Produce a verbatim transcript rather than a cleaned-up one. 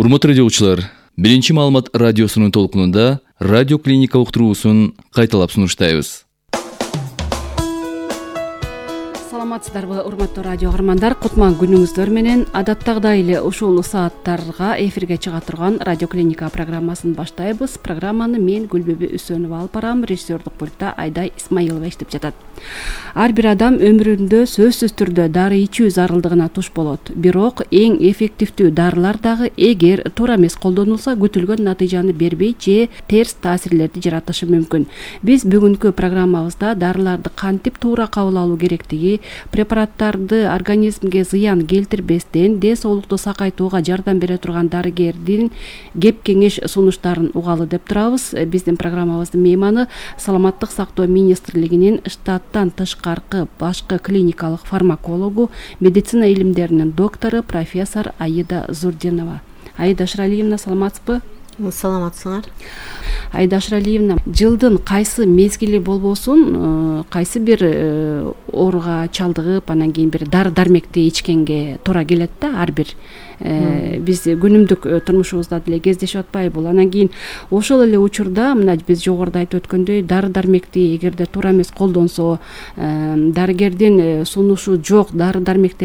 Урматтуу радиочулар, биринчи маалымат радиосунун толкунунда радио клиника уктуруусун кайталап сунуштайбыз. Саламатсыздарбы, урматтуу радио каармандар, кутман күнүңүздөр менен адаттагыдай эле ушул сааттарга эфирге чыга турган радио клиника программасын баштайбыз. Программаны мен Гүлбүбү Үсөнова алып барам, режиссердук пультта Айдай Исмаилова иштеп жатат. Ар бир адам өмүрүндө сөзсүз түрдө дары ичүү зарылдыгына туш болот. Бирок эң эффективдүү дарылар дагы эгер туура эмес колдонулса күтүлгөн натыйжаны бербей же терс таасирлерди жаратышы мүмкүн. Биз бүгүнкү программабызда дарыларды кантип туура кабыл алуу керектиги, препараттарды организмге зыян келтирбестен ден соолукту сакайтууга жардам бере турган дарыгердин кеп кеңеш сунуштарын угалы деп турабыз. Биздин программабыздын мейманы Саламаттык сактоо министрлигинин штаттан тышкаркы башкы клиникалык фармакологу, медицина илимдеринин доктору профессор Аида Зурдинова. Аида Шыралиевна, саламатсызбы? Саламатсыңар. Аида Шыралиевна, жылдын кайсы мезгили болбосун, кайсы бир ооруга чалдыгып, анан кийин бир дары дармекти ичкенге туура келет да, ар бир биз күнүмдүк турмушубузда деле кездешип атпайбы? Анан кийин ошол эле учурда мына биз жогоруда айтып өткөндөй дары дармекти эгерде туура эмес колдонсо, дарыгердин сунушу жок дары дармектер